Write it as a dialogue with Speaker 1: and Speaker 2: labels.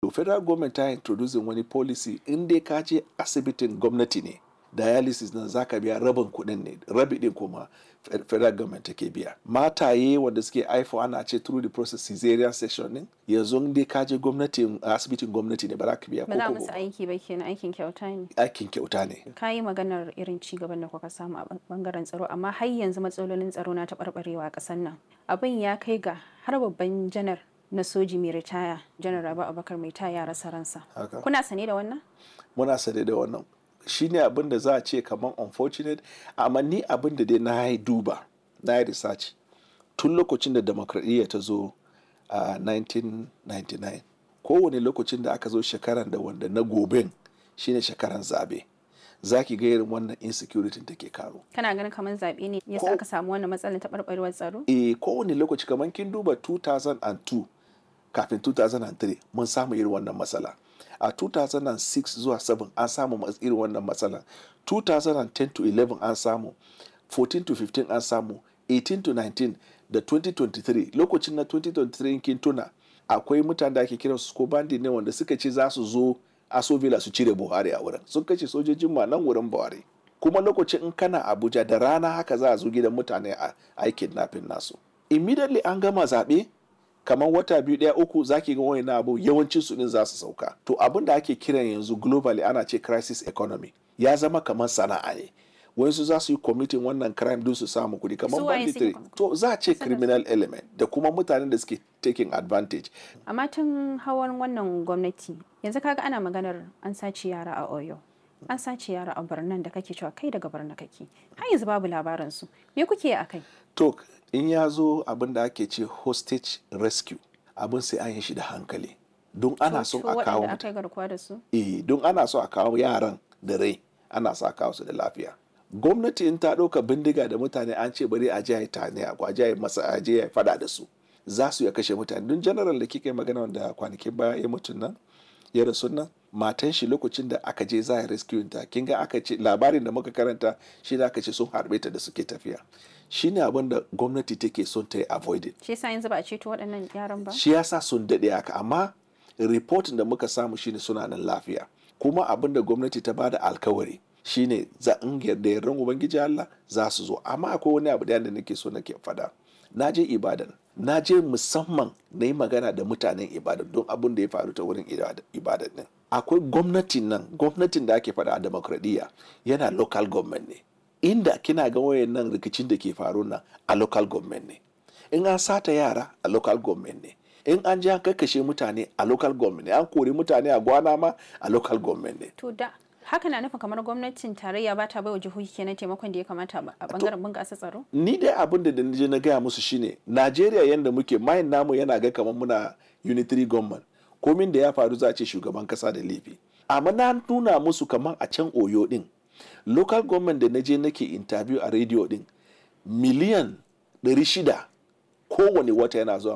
Speaker 1: To, federal government ta introducing wani policy, in dai ka je asibitin gwamnati ne dialysis nan, zaka biya rabin kuɗin ne, rabi din kuma federal government take biya. Mataye wanda suke haifo, ana ce through the process cesarean section din, yanzu in dai ka je gwamnati, asibitin gwamnati ne, ba za ka biya
Speaker 2: Ba za
Speaker 1: ko
Speaker 2: musu
Speaker 1: kobo ba.
Speaker 2: Aiki ba kenan, aikin kyauta ne.
Speaker 1: Aikin kyauta ne.
Speaker 2: Ka yi maganar irin ci gaban da kuka samu a bangaren tsaro, amma har yanzu matsalolin tsaro na taɓarɓarewa a ƙasar nan. Abin ya kai ga har babban janar na soji mai ritaya, Janar Rabi Abubakar mai taya, ya rasa ransa.
Speaker 1: Haka.
Speaker 2: Kuna sane da wannan?
Speaker 1: Muna sane da wannan. Shine abin da za a ce kamar unfortunate, amma ni abin da dai na yi duba, na yi research, tun lokacin da demokradiyya ta zo a 1999, kowane lokacin da aka zo shekaran da wanda na goben shine shekaran zabe, za ki ga irin wannan insecurity take karo.
Speaker 2: Kana ganin kamar zaɓe ne yasa aka samu wannan matsalar taɓarɓarewar tsaro?
Speaker 1: Eh, kowane lokaci, kamar kin duba 2002 kafin 2003, mun samu irin wannan matsala. A 2006 zuwa 7 an samu irin wannan matsala. 2010 to 11 an samu, 14 to 15 an samu, 18 to 19 da 2023. Lokacin na 2023, in kin tuna, akwai mutane da ake kiransu ko bandit ne wanda suka ce za su zo Aso Villa su cire Buhari a wurin. Sun kashe sojojin ma nan wurin Buhari. Kuma lokacin in kana Abuja da rana haka, za a zo gidan mutane a ai kidnapping nasu. Immediately an gama zaɓe, kamar wata biyu, ɗaya, uku, zaki ga wani abu yawancin su din za su sauka. To, abin da ake kiran yanzu globally, ana ce crisis economy, ya zama kamar sana'a ne. Wayansu za su yi committing wannan crime don su samu kuɗi, kamar
Speaker 2: Su waye suke
Speaker 1: banditry. To, za a ce criminal element da kuma mutanen da suke taking advantage.
Speaker 2: Amma tun hawan wannan gwamnati yanzu kaga ana maganar an sace yara a Oyo, an sace yara a birnin da kake cewa kai daga birnin kake, har yanzu babu labarin su. Me kuke yi akai?
Speaker 1: To, in ya zo abin da ake ce hostage rescue, abin sai an yi shi da hankali, don ana son
Speaker 2: To,
Speaker 1: a kawo
Speaker 2: waɗanda aka yi garkuwa da su?
Speaker 1: Eh, don ana so a kawo yaran da rai, ana so a kawo su da lafiya. Gwamnati in ta ɗauka bindiga da mutane, an ce bari a je a yi tane a je a yi masa, a je a yi fada da su, za su iya kashe mutane. Don general da kika yi magana wanda kwanakin baya ya mutu nan, ya rasu nan, matan shi lokacin da aka je za a rescue ta, kin ga aka ce labarin da muka karanta shi da aka ce sun harbe ta da suke tafiya. Shine abin da gwamnati take son ta yi avoided.
Speaker 2: Shi yasa yanzu ba a ceto waɗannan yaran ba?
Speaker 1: Shi yasa sun daɗe haka, amma reportin da muka samu shine suna nan lafiya. Kuma abin da gwamnati ta bada alkawari shine za in yarda, yardan Ubangiji Allah, za su zo. Amma akwai wani abu da nake so nake faɗa. Na je Ibadan, na je musamman na yi magana da mutanen Ibadan don abin da ya faru ta wurin Ibadan din. Akwai gwamnatin nan, gwamnatin da ake faɗa a demokradiyya yana local government ne. Inda kina ga wayannan rikicin da ke faru nan, a local government ne. In an sata yara, a local government ne. In an je an kakkashe mutane, a local government ne. An kori mutane a gwana ma, a local government ne.
Speaker 2: To, da haka na nufin kamar gwamnatin tarayya ba ta baiwa jihohi kenan taimakon da ya kamata a bangaren bunƙasa tsaro?
Speaker 1: Ni dai abin da je na gaya musu shine, Najeriya yanda muke mayin namu yana ga kamar muna unitary government, komin da ya faru za a ce shugaban kasa da laifi. Amma na nuna musu kamar a can Oyo din, local government da na je nake interview a radio din, miliyan 600 kowane wata yana zuwa.